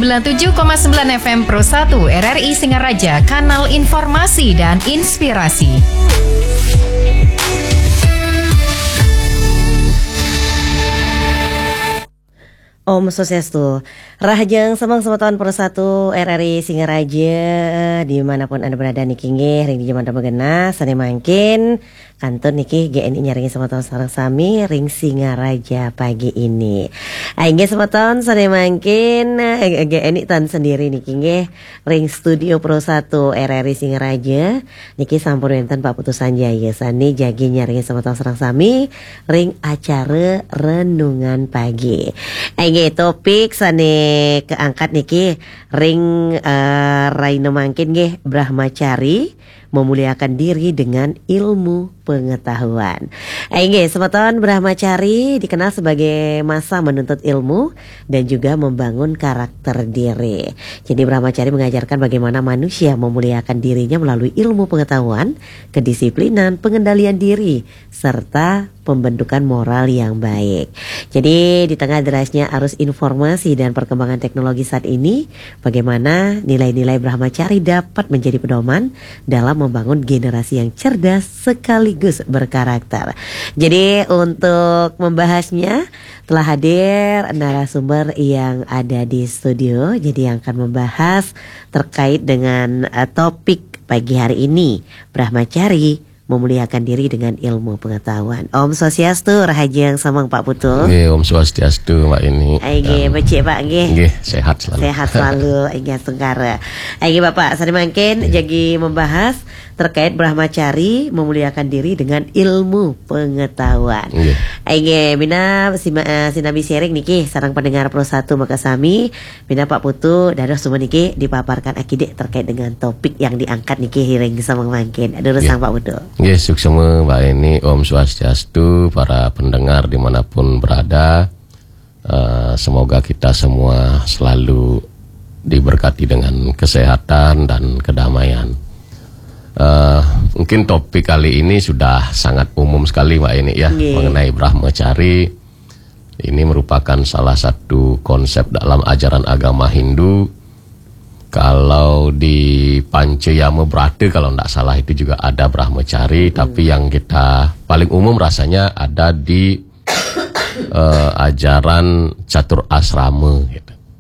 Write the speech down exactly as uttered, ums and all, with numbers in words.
sembilan tujuh koma sembilan F M Pro satu R R I Singaraja, kanal informasi dan inspirasi. Om Swastiastu. Rahajeng semeng semeton Pro satu R R I Singaraja, dimanapun Anda berada niki nggih, ring di jaman genah, sane mangkin kantun niki G N I nyarengin semeton sareng sami ring Singaraja pagi ini. Inggih semeton sane mangkin, eh, G N I tan sendiri niki nggih, ring studio Pro satu R R I Singaraja, niki sampun wenten Pak Putu Sanjaya sane jagi nyarengin semeton sareng sami ring acara renungan pagi. Inggih, topik sane keangkat niki ring, eh, raina mangkin nggih, Brahmacari memuliakan diri dengan ilmu pengetahuan. Inggih, semeton, Brahmacari dikenal sebagai masa menuntut ilmu dan juga membangun karakter diri. Jadi, Brahmacari mengajarkan bagaimana manusia memuliakan dirinya melalui ilmu pengetahuan, kedisiplinan, pengendalian diri, serta pembentukan moral yang baik. Jadi, di tengah derasnya arus informasi dan perkembangan teknologi saat ini, bagaimana nilai-nilai Brahmacari dapat menjadi pedoman dalam membangun generasi yang cerdas sekaligus berkarakter. Jadi, untuk membahasnya, telah hadir narasumber yang ada di studio, jadi yang akan membahas terkait dengan, eh, topik pagi hari ini, Brahmacari memuliakan diri dengan ilmu pengetahuan. Om Swastiastu, rahajeng semeng Pak Putu. Nggih, Om Swastiastu, Mbak Ini. Inggih, becik Pak nggih. Nggih, sehat selalu. Sehat selalu, inggih astungkara. Inggih Bapak, sane mangkin jagi membahas terkait Brahmacari memuliakan diri dengan ilmu pengetahuan. Nggih. Inggih, minab sima-, eh, sinambi sharing niki sareng pendengar Pro satu makasami, minab Pak Putu dados semua niki dipaparkan akidik terkait dengan topik yang diangkat niki ring semeng mangkin. Durusang Pak Putu. Nggih, suksma Mbak Ini, Om Swastiastu, para pendengar dimanapun berada. Eh, semoga kita semua selalu diberkati dengan kesehatan dan kedamaian. Eh, mungkin topik kali ini sudah sangat umum sekali, Mbak Ini, ya, nggih, mengenai Brahmacari. Ini merupakan salah satu konsep dalam ajaran agama Hindu. Kalau di Panca Yama Brata, kalau tidak salah, itu juga ada Brahmacari, tapi yang kita paling umum rasanya ada di eh, ajaran catur asrama gitu.